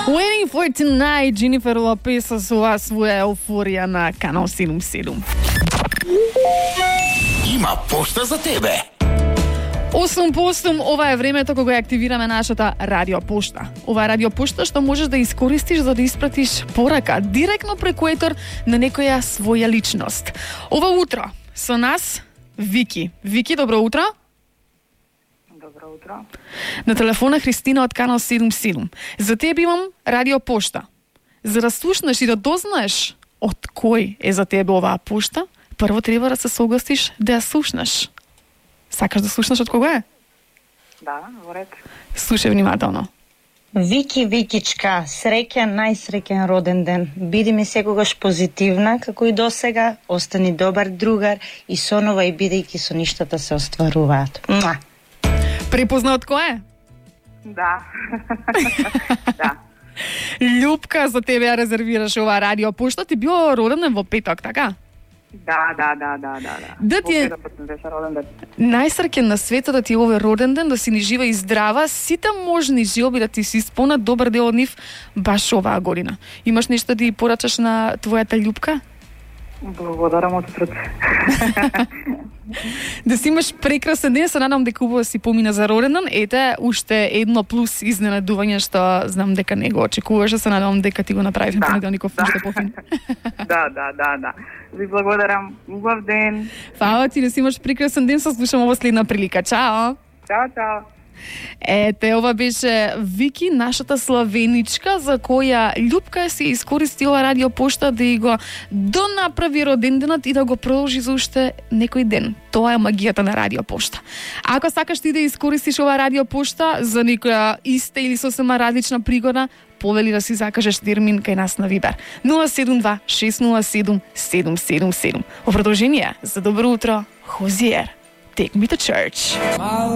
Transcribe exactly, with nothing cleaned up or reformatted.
Waiting for tonight, Jennifer Lopez со своја еуфорија на Канал седум седум. Има пошта за тебе. осум по осум, ова е времето кога ја активираме нашата радио пошта. Ова е радио пошта што можеш да искористиш за да испратиш порака директно преку етер на некоја своја личност. Ова утро со нас Вики. Вики, добро утро. Добро утро. На телефона Христина од Канал седум седум. За тебе имам радио пошта. За да слушнеш и да дознаеш од кој е за тебе оваа пошта, прво треба да се согласиш да ја слушнеш. Сакаш да слушнеш од кога е? Да, во ред. Слушај внимателно. Вики, Викичка, среќен, најсреќен роден ден. Биди ми секогаш позитивна, како и досега, остани добар другар и сонувај бидејќи со ништата се остваруваат. Муа! Препозна од кој е? Да. Да. Љупка, за тебе ја резервираш оваа радио пошта. Ти било роден ден во петок, така? Да, да, да, да, да, да. Да ти е Во петок беше роден ден. најсреќен на светот, да ти е овој роден ден, да си ни жива и здрава, сите можни желби да ти се исполнат, добар дел од нив баш оваа година. Имаш нешто да ја порачаш на твојата љупка? Благодарам од срце. Да си имаш прекрасен ден, се надам дека убаво си помина за роден ден. Ете, уште едно плюс изненадување што знам дека не го очекуваше, се надам дека ти го направи Да, понеделников да. уште пофин. Да, да, да, да. Ви благодарам. Убав ден. Фала ти, да си имаш прекрасен ден, се слушаме во следна прилика. Чао! Чао, чао. Ете, ова беше Вики, нашата славеничка, за која љупка си искористила радио пошта да и го донаправи роденденот и да го продолжи за уште некој ден. Тоа е магијата на радио пошта. Ако сакаш ти да искористиш ова радио пошта за некоја иста или сосема различна пригода, повели да си закажеш термин кај нас на Вибер нула седум два шест нула седум седум седум седум. Во продолжение, за добро утро, Хозиер. Take me to church.